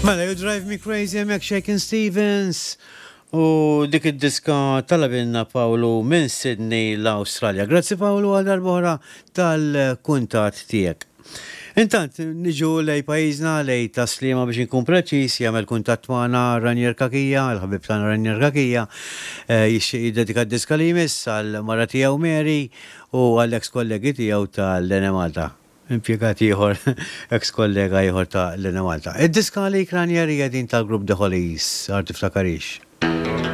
Mela, You Drive Me Crazy hemmhekk Shakin' Stevens u dik id-diska talabilna Pawlu minn Sydney l-Awstralja. Grazzi Pawlu għal darb'oħra tal-kuntatt tiegħek. Intant, niġu lej pajjiżna, lej Tas-Sliema biex inkun preċiż, jagħmel kuntatt magħna Ranier Cachia, il-ħabib tagħna Ranier Cachia, jixtieq jiddedika d-diska li jmiss għall-mara tiegħu Mary u għall-eks kollegi tiegħu tal-Enemalta. Impjegat ieħor, eks kollega ieħor ta' l-Enemalta. Id-diska għalik Ranier hija din tal-grupp The Hollies, Għar Tiftakarix.